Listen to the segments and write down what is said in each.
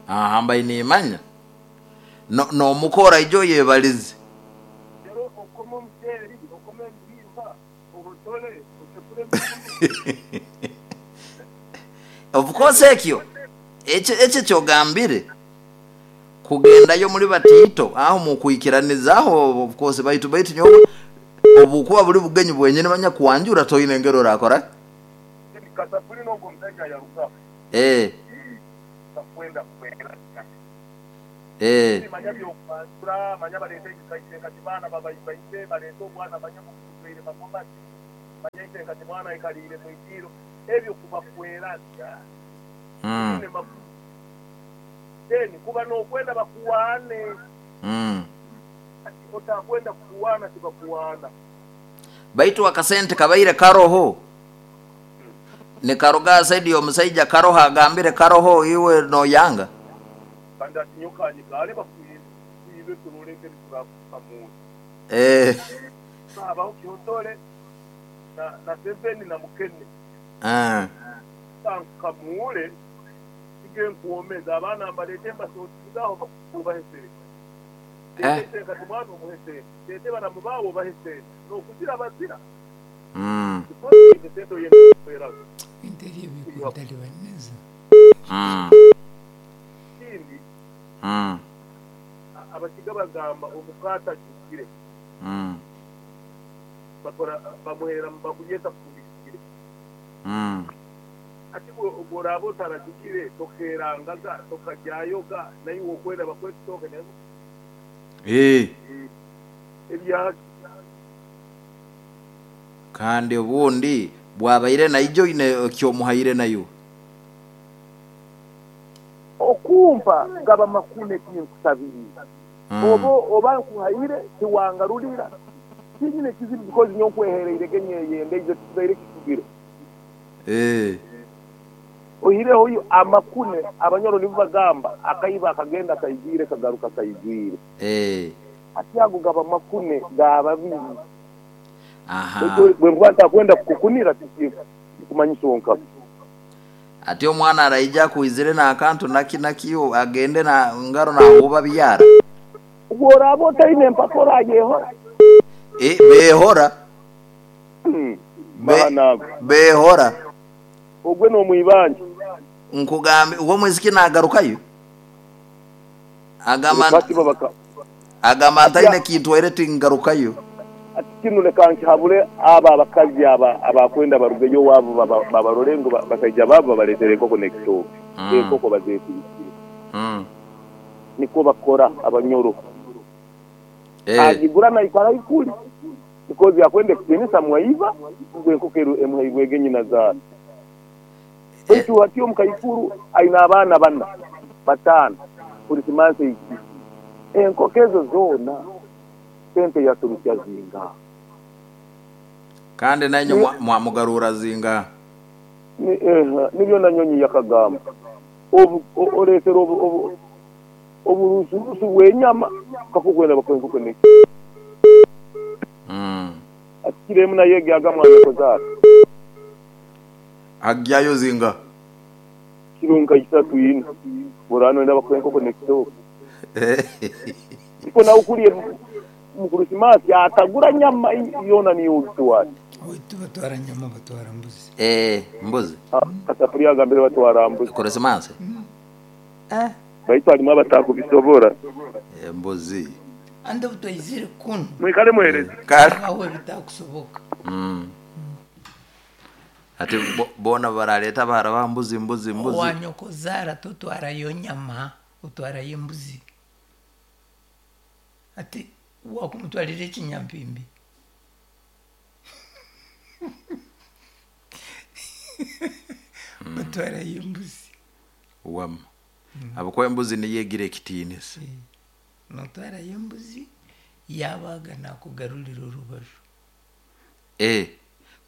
Aha, mbaire nimanya n'omuka oraija oyebalize. Rero okome omuceeri, okome ebihimba, ohotore, osekure emikuru. Of course ekyo ekyo ekyogambire kugendayo muri batiito aho mukwikiraniza aho of course baitu baitu nyowe obukuba buri bugenyi bwenyini banyakwanjura toine ngeri orakora ki? Kasapuri n'ogwo omusaija yarugaho. Eh. Bakwenda kweraga. Eh. Manya by'okwanjura, manya baleeta ekikaire kati baana babaibaire, baleeta obwana manya bukujwaire magomasi, manya ise kati mwana aikaliire mu idiiro. Ebyo kuba kweraga. Tibiine makulu. Then kuba n'okwenda bakuwaane. Kati otakwenda kukuwaana tibakuwaana. Baitu akasente kabaire karoho nikaruga aha side y'omusaija karoho agambire karoho iwe noyanga. Kandi ati nyowe kanyikare bakwibe turole engeri turakukamuura. Eh. Habaho kihotore na seveni na mukene. Ah. Kankukamuure nsige nkwomeze abaana mbalete mbasotinge aho bakubahe sente. Eh. Leeta ise kati mwana omuhe sente. Leeta baramu baawe obahe sente. Nokuzira bazira. Because oine sente oyenda kukweraga. Ebintu ebyo bikuntalibaniriza. Ekindi, Abakiga bagamba omuka atajugire bakora bamuhera mubakulyesa esafuriya ejugire. Hati bworaaba otarajugire tokerangaga tokagyayoga naiwe okwenda bakuhe ekitooke nenkoko. Ebyaki? Kandi obundi bwabaire naija oine ekyomuhaire naiwe. Okumpa gaba makune tinkusabiriire. Oba oba nkuhaire tiwangarurira tinyine kizibu because nyowe nkwehereire ge nyeyendeize tikibaire kitugire. Oihireho yo amakune Abanyoro nibo bagamba akaiba akagenda kaijwire kagaruka kaijwire. Hati ago gaba makune ga babiri. Baitu bwenkuba ntakwenda kukukunira tikikumanyisa onkaba. Ati omwana araija akwizire n'akantu naki naki agende na ngaro nahuuba byara. Obworaaba otaine empaka orayehora? Behora. Mahano ago. Behora. Ogwe n'omwibanja. Nkugambe uwe omwisiki nagarukayo? Agamba Bati bo baka. Agamba Ati ntaine kintwaire tingarukayo. Ati kinu leka nkihabure abo abakazi aba abakwenda barugeyo owaabu babarole ngu basaija baabu babaleetere enkoko n'ekitooke. Enkoko bazeetwikire. Nikwo bakora Abanyoro. Agigura naikara ikuli because akwenda ekitiinisa mwaiba ngu enkoko emuhairwege nyinazaara. Baitu hati omukaikuru aine abaana bana, bataano, Kurisimansi eijwire. Enkoko ezo zoona sente yaturukya zingaha? Kandi nainywe mwamugarurra zingaha? Nibyo na Nyonyi yakagamba. Oreesere oburusurusu bw'enyama kakukwenda bakuhe enkoko n'eki. Ati kiro emu nayo egyaga mwanyokoza ati. Agyayo zinga? Kiro nka isatu ina. Bw'oraaba noyenda bakuhe enkoko n'ekitooke. Nikwo nawe kuriya omu Kurisimaasi atagura nyama yoona niiwe ogitwara. Owaitu tibatwara nyama batwara mbuzi. Eeh mbuzi. Kasapuriya agambire batwara mbuzi. Kurisimaasi? Eh. Baitu harimu abatakubisobora. Embuzi. Anti obu twaizire kunu. Mwikale muhereze. Kale. Habaho ebitakusoboka. Ati boona baraleeta abahara ba mbuzi mbuzi mbuzi. Owa nyokozaara totwarayo nyama, otwarayo embuzi. Ati wakumutwarira ekinyampimbi. Otwarayo embuzi. Wama. Habwokuba embuzi niyo egira ekitiinisa. Notwarayo embuzi, yabaaga nakugarurira orubaju. Eeh,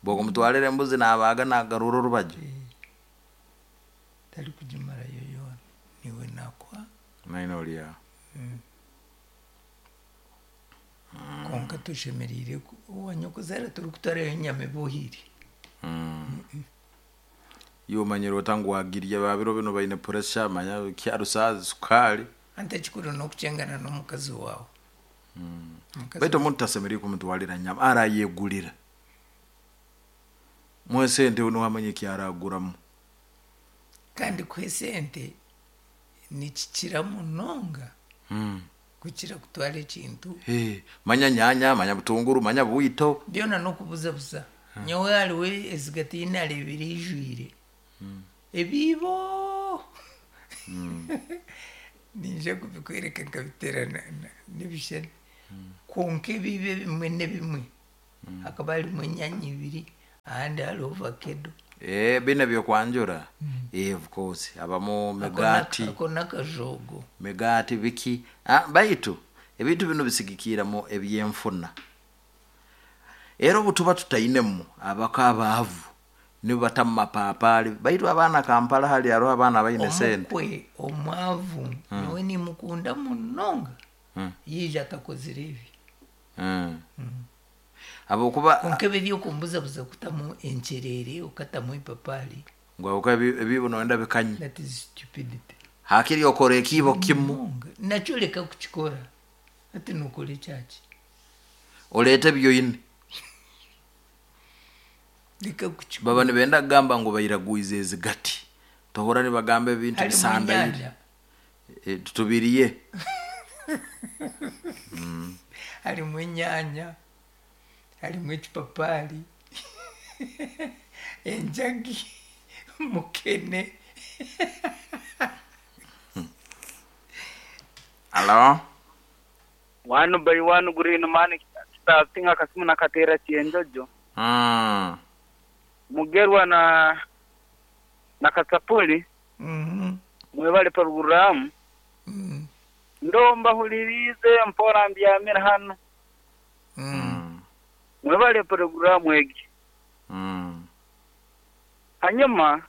bwokumutwarira embuzi nabaaga nakugarurra orubaju. Tarikugimarayo yoona, niiwe nakuha. Naine ori aho. Kwonka toshemereire owa nyokozaara torikutwarayo enyama ebohire. Iwe omanyire ota ngu wagirya, babiro binu baine pressure, manya kyarusa sukali. Anti ekikuru n'okukyengana n'omukazi waawe. Omukazi. Baitu omuntu tasemereire kumutwalira nyama, arayegulira. Muhe sente, niwe amanya ekyaraguramu. Kandi kuha esente nikikira munonga kukira kutwara ekintu. Hey, manya nyanya, manya butunguru, manya bwito. Byona n'okubuzabuza. Nyowe hariho ezigati nareebire ijwire ebiibo, ninja kubikwereka nkabiteera n'ebishushani, kwonka ebiibo ebimwe n'ebimwe hakaba harimu enyanya ibiri, ahandi hariho vakedo. Eh, bine byokwanjura. Of course abamu migati. Ako n'akajogo. Migati biki. Baitu ebintu binu bisigikiramu ebyenfuna. Era obu tuba tutainemu, abaka abaavu nibo batamu mapapaali, baitu abaana Kampala hali hariho abaana baine sente. Omukwe omwavu nyowe nimukunda munonga, yiija atakozire ebi. Habwokuba Konka ebi ebyokumbuzabuza, kutamu enkyerere, okatamu epapaali, ngu habwokuba ebiibo noyenda bikanye. That is stupidity. Hakiri okora ekiibo kimu. Munonga. Nakyo leka kukikora, ati nokora ekyaki? Oleete ebyoine. Leka kukikora. Baba nibenda kugamba ngu bairagwize ezigati, tohura nibagamba ebintu Harimu bisandaire. enyanya. Eh, tubiriye. Harimu enyanya, harimu ekipapaali, enjagi, mukene. Alo. One by one green man starting akasimu nakatera kyenjojo. Mugerwa na Kasapuli. Mwebale programu. Ndomba hulirize mpora mbyamira hano. Mwebale programu egi. Hanyuma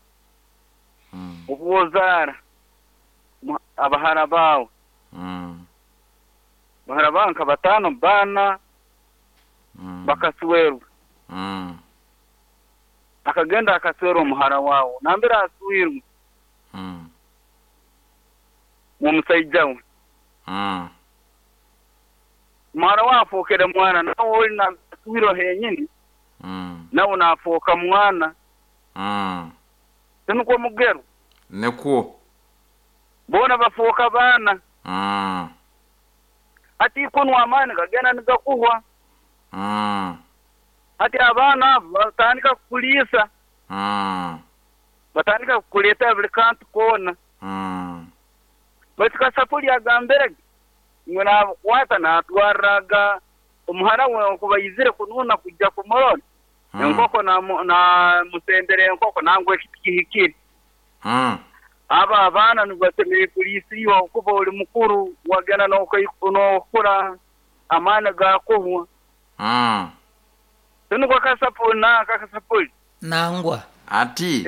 obwozaara abahara bawe, bahara bawe nka batano, bana, bakaswerwa. Akagenda akaswera omuhara wawe nambere aswirwe mumusaija we. Muhara wawe afookere mwana, nawe oli naswirwe henyini, nawe nafooka mwana. Tinukwo Mugero? Nikwo. Boona bafooka baana. Hati kunwa amaani gagenda nigakuhwa. Hati abaana abo batandika kukuliisa, batandika kukuleetera buli kantu koona. Baitu Kasapuli agambirege ngu nabukwata natwarraga omuhara we okuba aizire kununa kujja kumurora, enkoko namusendera enkoko nangwa ekiti kihikire. Abo abaana nibasemeriire kuliisiibwa okuba oli mukuru, wagenda n'okura, amaani gakuhwa. Tinukwo Kasapuli nanka Kasapuli? Nangwa. Ati.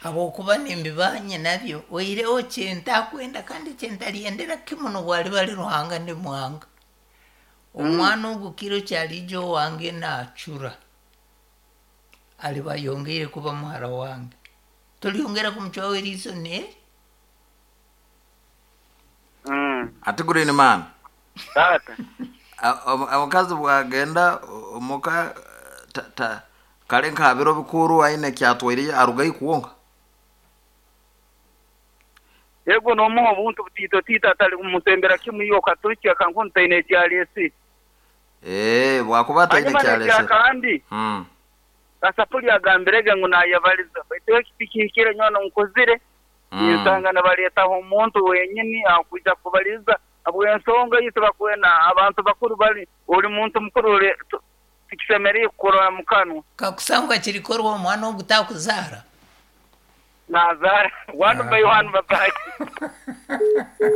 Habwokuba nimbibanye nabyo, oihireho kyentakwenda kandi kyentalyendera kimu nobwaliba ali Ruhanga ndi muhanga. Omwana ogu kiro kyaliija owange naacura, aliba ayongeire kuba muhara wange. Tolyongera kumucwaho eriiso neeri. Ati green man. Tata. Omukazi bwagenda omuka kale nka biro bikuru aine kyatwaire, arugayo kuwonka. Yego, n'omuha obuntu butiito tiito, atali kumusembera kimu iwe okaturukya kankunu taine ekyaleesire. Eh, bwakuba ataine Hanyuma kyalesere. nekyakandi, Kasapuli agambirege ngu nayebaliza, baitu eki tikihikire. Nyowe nkuzire, ninsanga nibaleetaho omuntu wenyini akwija kubaliza habw'ensonga ei tibakwenda abantu bakuru bali oli muntu mukuru tikisemeriire kukurora mu kanwa. Kakusangwa kirikorwa, omwana ogu takuzaara. Nazaara. One by one, babayi.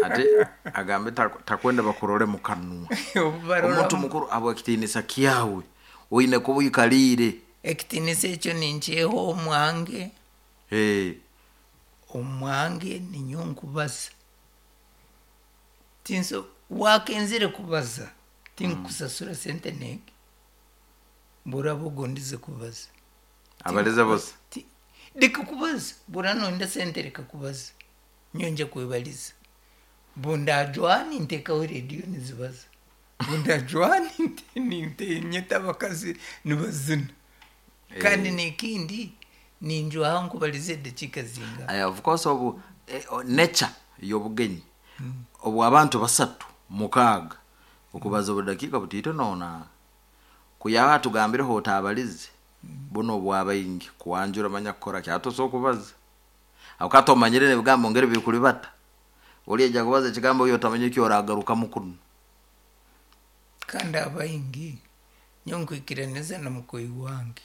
Ati agambe takwenda bakurole mu kanwa. Obu Omuntu mukuru habw'ekitiinisa kyawe oine kuba oikaliire. Ekitiinisa ekyo ninkyeha omwange. Hey. Omwange ninyo nkubaza, tinso wakenzire kubaza, tinkusasura sente nege, buraba ogondize kubaza. Abalize bose. Leka kubaza, bwora noyenda sente leka kubaza, nyowe kwebaliza. Bundajwaha nintekaho rediyo nizibaza, bundajwaha nyeta abakazi nibazina. Kandi nekindi ninjwaha nkubaliza edakiika zingaha. Of course obu nature y'obugenyi obu abantu basatu mukaaga okubaza obudakiika butiito noona kuyaha tugambireho otabalize buno obwabaingi kwanjura manya kukora ki hati osobola kubaza habwokuba tomanyire n'ebigambo ngeri bikulibata oli aija kubaza ekigambo iwe otamanya eki oragarukamu kunu. Kandi abaingi nyowe nkwikiraniza na mukoyi wange.